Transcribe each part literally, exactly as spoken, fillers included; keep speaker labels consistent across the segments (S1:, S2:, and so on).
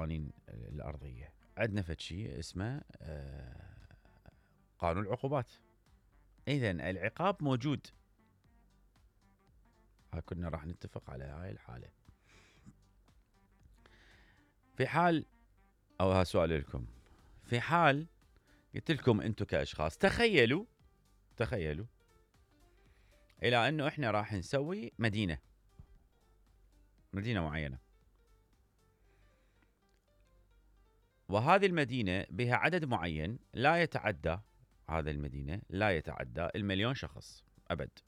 S1: القوانين الأرضية. عندنا فد شيء اسمه قانون العقوبات. إذن العقاب موجود. ها كنا راح نتفق على هاي الحالة. في حال أو ها سؤال لكم، في حال قلت لكم أنتم كأشخاص تخيلوا تخيلوا إلى أنه إحنا راح نسوي مدينة مدينة معينة، وهذه المدينة بها عدد معين لا يتعدى، هذا المدينة لا يتعدى المليون شخص أبد.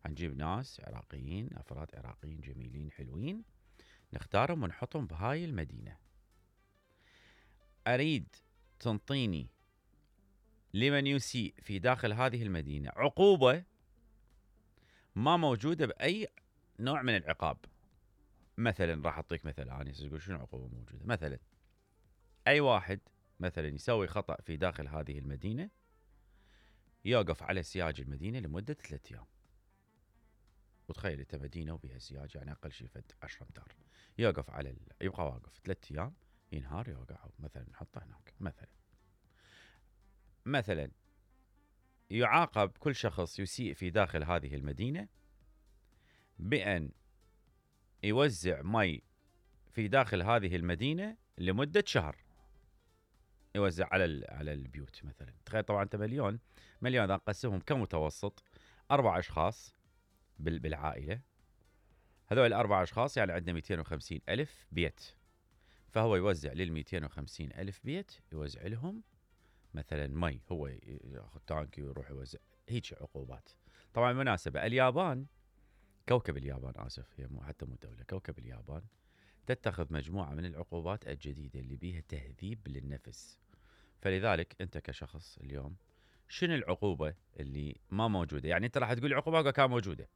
S1: هنجيب ناس عراقيين، أفراد عراقيين جميلين حلوين، نختارهم ونحطهم بهاي المدينة. أريد تنطيني لمن يسيء في داخل هذه المدينة عقوبة ما موجودة بأي نوع من العقاب. مثلا راح أعطيك مثل، أنا أقول شنو عقوبة موجودة. مثلا أي واحد مثلا يسوي خطأ في داخل هذه المدينة يوقف على سياج المدينة لمدة ثلاثة أيام. وتخيل أنت مدينة وبها سياج، يعني أقل شيء فد عشرة أمتار، يوقف على ال... يبقى واقف ثلاثة أيام، ينهار يوقع مثلا نحطه هناك. مثلا مثلا يعاقب كل شخص يسيء في داخل هذه المدينة بأن يوزع مي في داخل هذه المدينة لمدة شهر، يوزع على على البيوت. مثلا تخيل طبعا انت مليون مليون اذا نقسمهم كمتوسط اربع اشخاص بالعائله، هذول الاربع اشخاص يعني عندنا مئتين وخمسين الف بيت، فهو يوزع لل مئتين وخمسين الف بيت يوزع لهم مثلا مي، هو ياخذ تانكي ويروح يوزع. هيك عقوبات. طبعا بالمناسبه اليابان، كوكب اليابان اسف، هي مو حتى مو دوله، كوكب اليابان تتخذ مجموعه من العقوبات الجديده اللي بيها تهذيب للنفس. فلذلك انت كشخص اليوم شنو العقوبه اللي ما موجوده؟ يعني انت راح تقول عقوبه كان موجوده،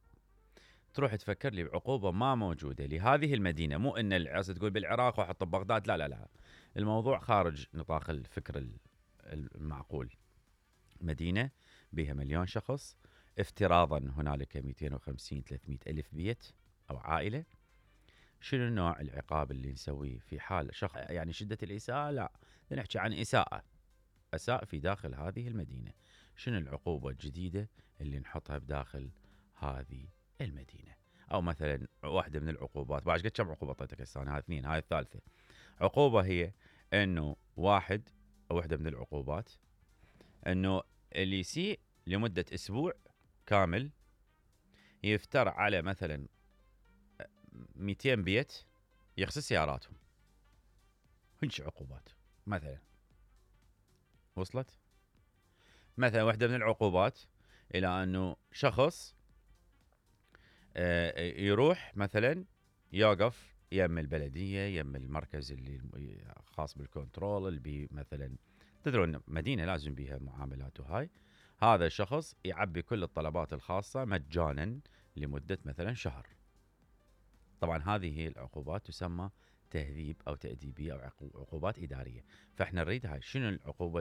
S1: تروح تفكر لي بعقوبه ما موجوده لهذه المدينه، مو ان العاصي تقول بالعراق واحط ببغداد، لا لا لا، الموضوع خارج نطاق الفكر المعقول. مدينه بها مليون شخص، افتراضا هنالك مئتين وخمسين ثلاثمئة الف بيت او عائله، شنو نوع العقاب اللي نسويه في حال شخص يعني شده الاساءه؟ لا، نحكي عن اساءه، أساء في داخل هذه المدينة. شنو العقوبة الجديدة اللي نحطها بداخل هذه المدينة؟ أو مثلا واحدة من العقوبات، بعد قد كم عقوبة طيتك هسه؟ هاي اثنين، هاي الثالثة. عقوبة هي إنه واحد، أو واحدة من العقوبات إنه اللي يسيء لمدة أسبوع كامل يفتر على مثلا مئتين بيت يغسل سياراتهم. هنش عقوبات مثلا. وصلت؟ مثلا واحدة من العقوبات إلى أنه شخص يروح مثلا يوقف يم البلدية، يم المركز اللي خاص بالكنترول اللي بي مثلا، تدرون مدينة لازم بيها معاملات وهاي، هذا الشخص يعبي كل الطلبات الخاصة مجانا لمدة مثلا شهر. طبعا هذه هي العقوبات تسمى تهذيب أو تأديبية أو عقوبات إدارية. فإحنا نريد هاي، شنو العقوبة